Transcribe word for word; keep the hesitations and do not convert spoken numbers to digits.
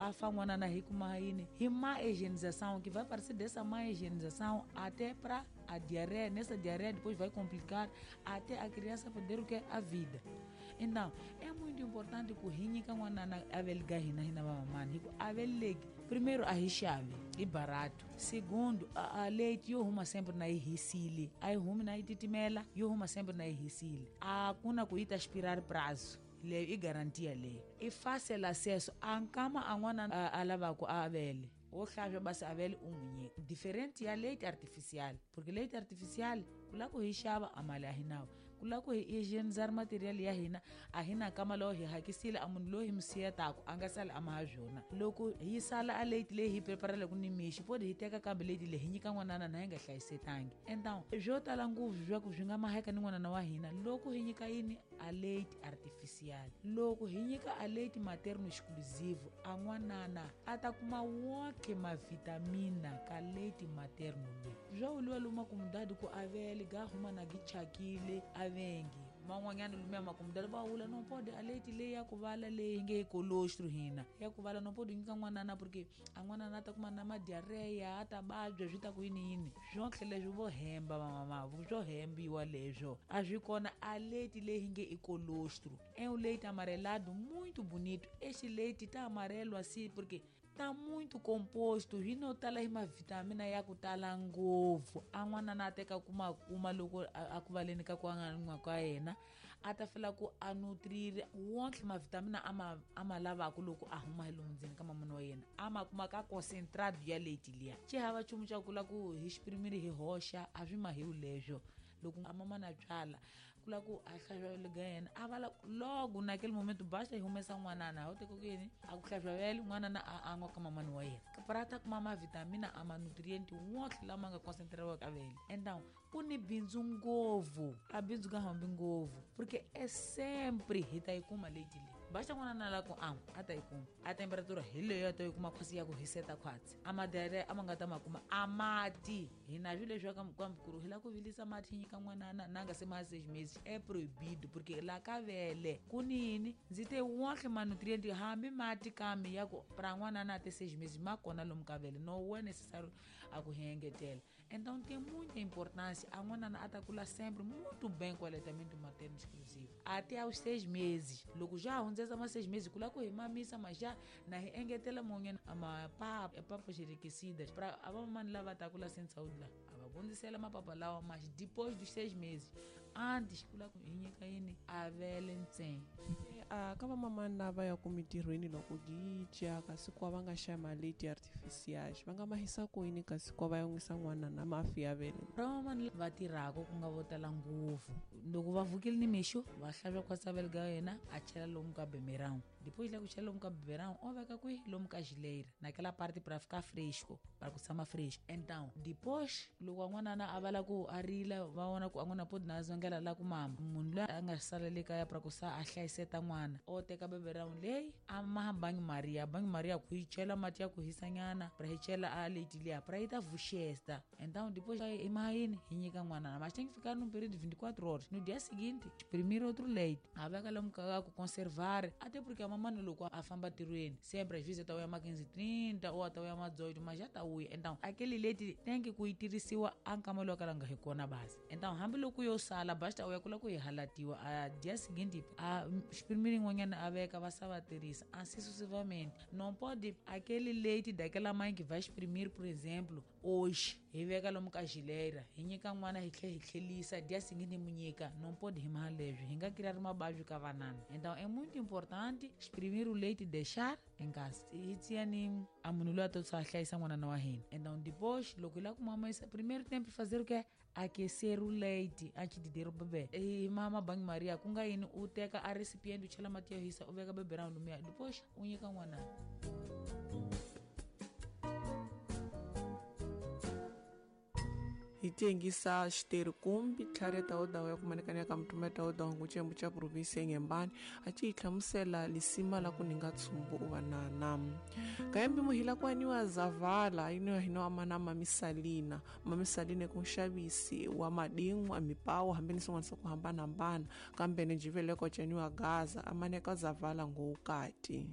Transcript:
a fa n'wanana hi kuma yini hi má higienização, que vai aparecer dessa má higienização até para a diarreia. Nessa diarreia depois vai complicar até a criança perder o que? A vida. Então, é muito importante que hi nyika n'wanana a vele hina hina vamamani, hi ku a veleki primeiro a hi xavi i barato, segundo a, a leite yo huma sempre na yi hisile, a yi humi na yi titimela, yo huma sempre na yi hisile, a ku na ku yi ta expirar prazo leyo i garantia leyo, i fácil acesso a nkama a n'wana a, a lavaku a vele o hlantswa basi a vele u n'wi nyika. Diferente ya leite artificial, porque leite artificial ku lava ku hi xava a mali a hi nawo, ku lava ku hi hygienizar material ya hina a hi na nkama lowo hi hakisile a munhu loyi hi mi siyetaku a nga sali a maha byona. Loko hi sala a leite leyi hi preparelaku ni mixo podi hi teka kambe leite leyi hi nyika n'wanana na hi nga hlayisetangi. Então swo tala ngopfu swa ku swi nga maheka ni n'wanana wa hina loko hi nyika yini a leite artificial. Loko hi nyika a leite materno exclusivo a n'wanana a ta kuma wonke mavitamina ka leite materno leyi. Swa vuriwa lomu makumudadi ku a vele ga huma na gi chakile a vengi man'wanyana lumiya makumudadi va vula no pode a leite leyi ya ku vala leyi nge colostro hina ya ku vala no pode nyika n'wanana porque a n'wanana a ta kuma na madiarreia a ta vabya swi ta ku yini yini swonke leswi vo hemba vamama swo hembiwa leswo a swi kona. A leite leyi nge i colostro é um leite amarelado muito bonito, este leite tá amarelo assim porque tá muito composto hi no tala hi mavitamina ya ku tala ngopfu. A n'wanana a teka kuma kuma loko a ku valeni ka ku angan'wa ka yena a ta fela ku a nutrire wonke mavitamina a ma a ma lavaku loko a huma hi lomu ndzeni ka mamana wa yena a ma kuma ka concentrado ya leite liya. Xi hava nchumu xa ku la ku hi xiprimiri hi hoxa a swi mahiwu leswo. Loko a mamana byala ku la ku a hlantswa ga yena a vala logo naquele momento basta hi humesa n'wanana ho teka ku yini a ku hlantswa vele n'wanana a an'wa ka mamani wa yena para ta kuma mavitamina a manutriente wonke lama nga concentrariwa ka vele. Então ku ni bindzu ngopfu a bindzu ka hambi ngopfu porque é sempre hi ta yi kuma leite leyi. Basta n'wanana la ku an'wa a ta yi kuma a temperatura hi leyo a ta yi kuma khosi ya ku hiseta khwatsi a madiarreia a ma nga ta ma kuma a mati hina swilo leswi ka mukuru hi la ku vilisa mati hi nyika n'wanana na nga se ma seis meses é proibido porque la ka vele ku nini ndzi te wonke manutriente hambi mati kambe ya ku pra n'wanana até seis meses ma kona lomu ka vele no é necessário a ku hi engetela. Então tem muita importância a n'wanana a ta kula sempre muito bem com o aleitamento materno exclusivo até aos seis meses. Loko já hundzesa ma seis meses ku la ku hi mamisa ma já na hi engetela munye mapapa papas enriquecidas para a mamani lava ta kula sem saúde lá a va hundzisela mapapa lawa mas depois dos seis meses antes ku la ku hi nyika yini a vele ntsena. A ka vamamani lava ya ku mitirhweni loko gicha kasi ku va nga xa maleite artificiais va nga mahisa ku yini kasi ku va ya nwisa n'wana na mafi ya vele. Vamamani va tirhaka ku nga vo tala ngopfu loko va vukile ni mixo va hlantswa khwatsi vele ga yena a chela lomu ka beberão, depois lá ku chela lomu ka beberão o veka kwihi lomu ka geleira naquela parte para ficar fresco para ku tshama fresco. Então depois loko a n'wanana a vala ku a rila va vona ku a n'wana podi na zongela la ku mama munhu loyi a nga sala le kaya para ku sa a hlayiseta n'wana o teka beberão leyi a maha banho maria banho maria ku yi chela mati ya ku hisanyana para hi chela a leite liya para yi ta vuxesta. Então depois hi maha yini hi nyika n'wanana mas tem que ficar num período de vinte e quatro horas. No dia seguinte exprimir outro leite a veka lomu ka ku conservar até porque a mamãe loko a famba tirhweni sempre às vezes ta uya ma quinze e trinta ou ta uya ma dezoito mas já ta uya. Então aquele leite tem que ku yi tirhisiwa a nkama lowu ka la nga hi kona basi. Então hambi loko yo sala basta uya kula ku yi halatiwa a dia seguinte a exprimir yin'wanyana a veka va sa va tirhisa assim sucessivamente. Não pode aquele leite daquela mãe que vai exprimir por exemplo hoje hi veka lomu ka geleira hi nyika n'wana hi tlhe hi tlhelisa dia seguinte hi mu nyika não pode hi maha leswi hi nga criar mabavyo ka vanana. Então é muito importante exprimir o leite e deixar em casa. Hi tiani a munhu loyi a to a hlayisa n'wanana wa hina. Então depois loko hi lava ku mamisa primeiro tempo fazer o que aquecer o leite antes de dar o bebê. Hi mama banho maria ku nga yini u teka a recipiente u chela mati yo hisa u veka beberão lumiya depois u nyika n'wanana. Hi tengisa xiterhikumbi tlhareta wo dawu ya kumanekana ka mutumeta wo dawu ngucembu cha provinsi eNgembani a ci hi hlamusela lisima la ku ninga tsumbu u vanana kayembi muhila kwaniwa zavala ino hino amana mamisalina mamisalina ku nxavisi wa madin'wa mipawu hambi ni swin'wana swa ku hambanahambana kambe ni jiveleko ceniwa gaza amaneka zavala ngowukati.